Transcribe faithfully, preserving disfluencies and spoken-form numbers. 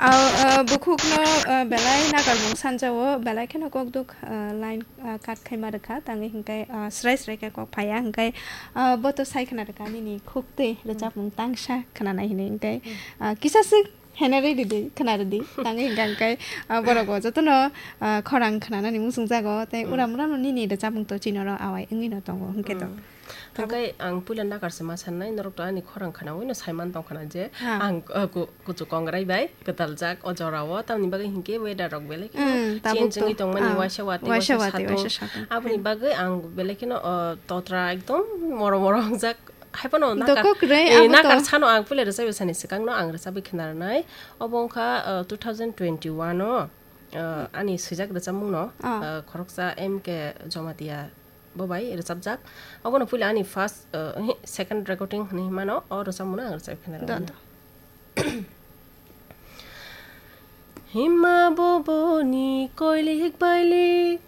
Ah, ah, bukhukno, ah, belai nagar mung sanjao, belai kheno kok duk, ah, line, ah, cut khaima rwkha, tangwi hwnkhe, ah, srai srai khe kok phaiya, hwnkhe, ah, bo to sai khna rwkha nini khuk twi rwchapmung tangsa khwnanai hinwi, hwnkhe, ah, kisa swk hene rwdi, khna rwdi, tangwi hwnkhe, hwnkhe, ah, borok bo jotono, ah, khorang khwnanani muchung jago, tei uram uram nini rwchapmung to chinoro awai wngwi no tongo, hwnkhe to. Hwnkhe ang puila nakarse ma sanai, norok to ani khorang khnaui no saiman tong khna je, ang, uh, ku-, kuchuk kongrai bai kwtal jak o jora o, tamni bagwi hinkhe weather rok belai kheno change wngwi tongmani, waisa watwi, waisa satung. Aboni bagwi ang belai kheno, uh, totra ekdom moro moro wngjak, haiphano nakar, nakar sano ang puila rwchapwi sani swkang no ang rwchapwi khna rwnai. Obo wngkha, uh, two thousand twenty-one o, uh, ani swijak rwchapmung no, uh, khoroksa M K Jamatia bo bai rwchapjak. Obono puila ani first, uh, hi-, second recording hinwi mano, o rwchapmungno ang rwchapwi khna rwmani. Hima boboni koilik bailik,